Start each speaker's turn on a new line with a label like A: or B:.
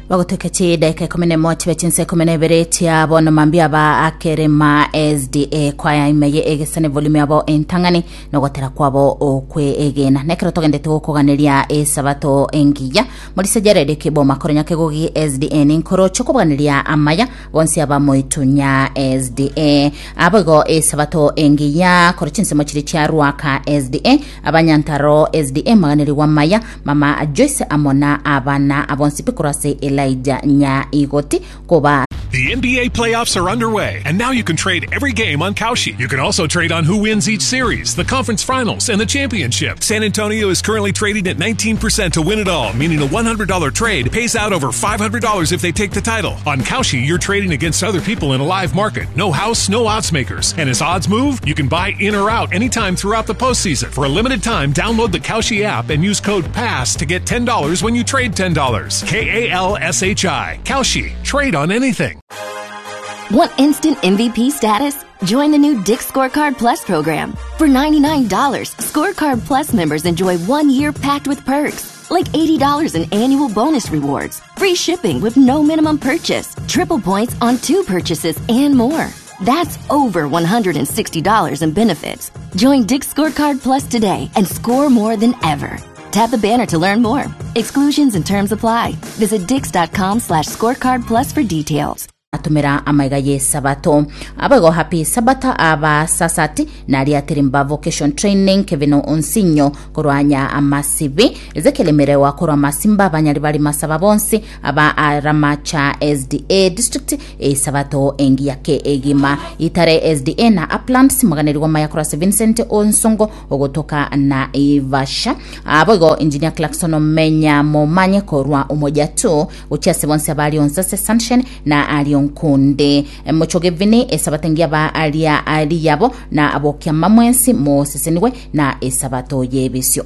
A: Bagotoka chidaika ikomi nemo chibe chinsa ikomi na ibere chia bono mambia aba akerema SDA kwaya ime ye egesane volume yabo entang'ani nogotera kwabo okwe egena nekero togendete gokoganeria esabato engiya morisa Jared Kiboma koronya kegogi SDA ninkoroche kobaneria amaya bonsi abamoitunya SDA aboigo esabato engiya koro chinsemo chiri chia Ruaka SDA abanyantaro SDA maganerigwa amaya Mama Joyce amo na abana abonsi pi korwa ase Elijah Nyaigoti koba.
B: The NBA playoffs are underway, and now you can trade every game on Kalshi. You can also trade on who wins each series, the conference finals, and the championship. San Antonio is currently trading at 19% to win it all, meaning a $100 trade pays out over $500 if they take the title. On Kalshi, you're trading against other people in a live market. No house, no odds makers. And as odds move, you can buy in or out anytime throughout the postseason. For a limited time, download the Kalshi app and use code PASS to get $10 when you trade $10. K A L S H I. Kalshi. Trade on anything.
C: Want instant MVP status? Join the new Dick Scorecard Plus program. For $99, Scorecard Plus members enjoy one year packed with perks, like $80 in annual bonus rewards, free shipping with no minimum purchase, triple points on two purchases, and more. That's over $160 in benefits. Join Dick Scorecard Plus today and score more than ever. Tap the banner to learn more. Exclusions and terms apply. Visit dix.com slash scorecard plus for details.
A: Atumera amaiga y'Esabato. Abaigo Happy Sabbath aba Sasati na Riatirimba Vocation Training Kevin Onsinyo korwa nya Amasibi Ezekiel Merewa korwa Masimba abanyari bari masaba bonsi aba Aramacha SDA District Esabato engiya ke egima Itare SDA na Uplands moganerigwa maya korwa ase Vincent Onsongo ogotoka na Ivasha Aboigo Engineer Clarkson Omenya momanye korwa Umoja tu gochia ase bonsi abari onsi ase Sunshine na aria onkunde mochoge vini esabato engiya ba aria ari yabo na abokiama mwensi mosesenigwe na esabato y'ebisio.